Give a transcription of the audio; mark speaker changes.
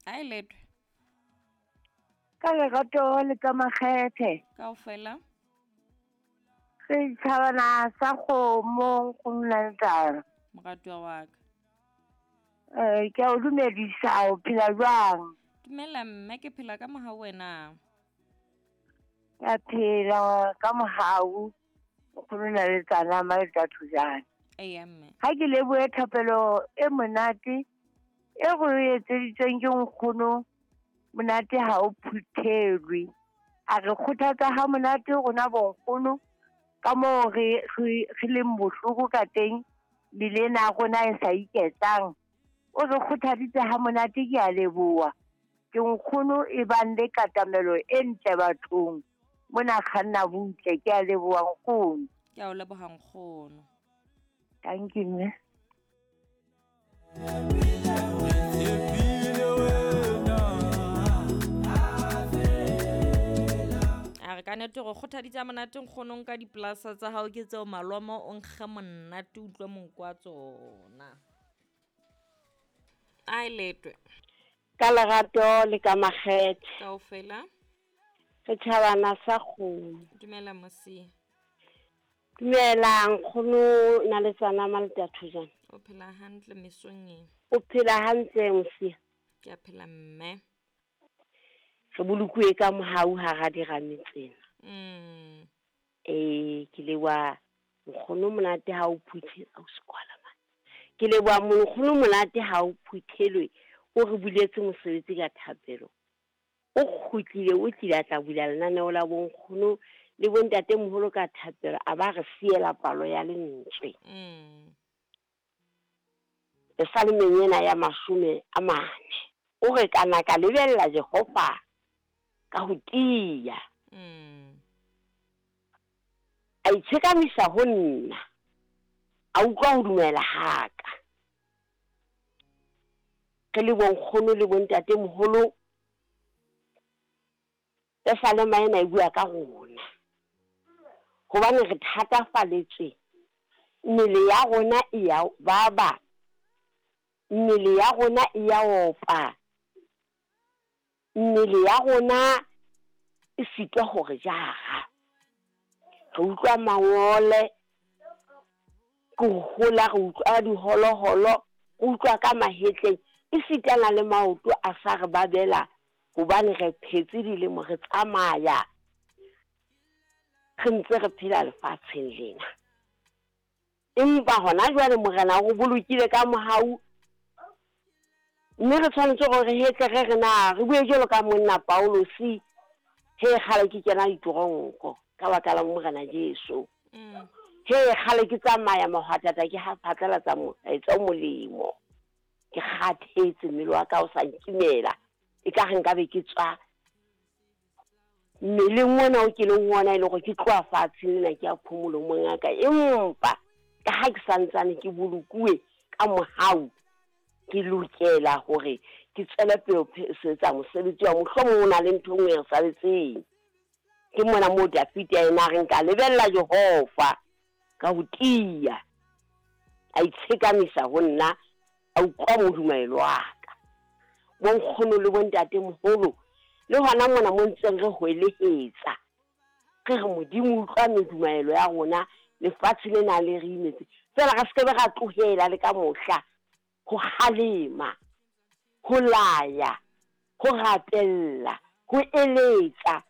Speaker 1: A e letwe.
Speaker 2: Ka lerato le ka makgethe.
Speaker 1: Kaofela.
Speaker 2: Setšhabana sa kgomo nkgono Naletsana.
Speaker 1: Moratuwa wa ka.
Speaker 2: Eh, ke a o dumedisa, o phela jwang?
Speaker 1: Dumela mme, ke phela ka mohau wena.
Speaker 2: Ke a phela ka mohau, nkgono Naletsana Maleta Thojane.
Speaker 1: Eya mme.
Speaker 2: Ha ke lebohe thapelo e monate e go e etseditsweng ke nkgono monate ha o phuthelwe. A re kgothatsa ha monate rona bonkgono ka moo re re leng bohloko ka teng mmele ena ya rona e sa iketlang. O re kgothaditse ha monate ke a leboha. Ke nkgono e bang le katamelo e ntle bathong. Mona kganna butle ke a leboha nkgono.
Speaker 1: Ke a o leboha nkgono.
Speaker 2: Thank you mme.
Speaker 1: A re ka nete go kgothaditse monate nkgonong ka dipolasa tsa hao ke tseo malomo o nkge monate utlwe monko wa tsona. A e letwe.
Speaker 3: Ka lerato le ka makgethe.
Speaker 1: Kaofela.
Speaker 3: Setjhabana sa kgomo.
Speaker 1: Dumela mosia.
Speaker 3: Dumela nkgono Naletsana Maleta Thojane.
Speaker 1: O phela hantle mesong e.
Speaker 3: O phela hantle mosia.
Speaker 1: Ke a phela mme.
Speaker 3: Re bolokuwe ka mohau hara dirame tsena. Ke leboha nkgono monate ha o phuthe o sekwala man. Ke leboha nkgono monate ha o phuthelwe o re buletse mosebetsi ka thapelo. O kgutlile o tlile a tla bula lenaneo la bonkgono le bontate moholo ka thapelo a ba re siela palo ya lentswe. Pesalemeng ena ya 40 o re kana ka lebella Jehova ka ho tiya. A itshekamisa ho nna, a utlwa ho dumela haka. Re le bonkgono le bontate moholo, Pesalema ena e bua ka rona. Hobane re thatafaletswe, mmele ya rona e ya baba, mmele ya rona e ya opa, mmele ya rona e sitwa hore jara. Re utlwa mangole, ke hola re utlwa diholoholo, re utlwa ka mahetleng, e sitana le maoto a sa re babela hobane re phetse dilemo re tsamaya re ntse re phela lefatsheng lena. Empa hona jwale Morena o bolokile ka mohau, mme re tshwanetse hore re hetle re re na re bue jwalo ka monna Paulosi he kgale ke kena ditoronko ka baka la Morena Jesu. He kgale ke tsamaya mahwatata ke ha phatlalatsa molaetsa o molemo. Ke kgathetse mmele wa ka o sa nkimela, e ka re nka be ke tswa mmeleng ona o ke leng ona e le hore ke tloha fatshe lena ke ya phomolo mongaka. Empa ka ha ke santsane ke bolokuwe ka mohau, ke lokela hore ke tswele pele ho etsa mosebetsi wa mohlomong o na le ntho e nngwe e re saletseng. Ke mona moo Dafita yena a reng ka lebella Jehova ka ho tiya, a itshekamisa ho nna, a utlwa modumaelo wa ka. Bonkgono le bontate moholo le hona mona mo ntseng re hwelehetsa, re re Modimo utlwa medumaelo ya rona, lefatshe lena le re imetse. Feela re se ke ra tlohela le ka mohla ho kgalema, ho laya, ho rapella, ho eletsa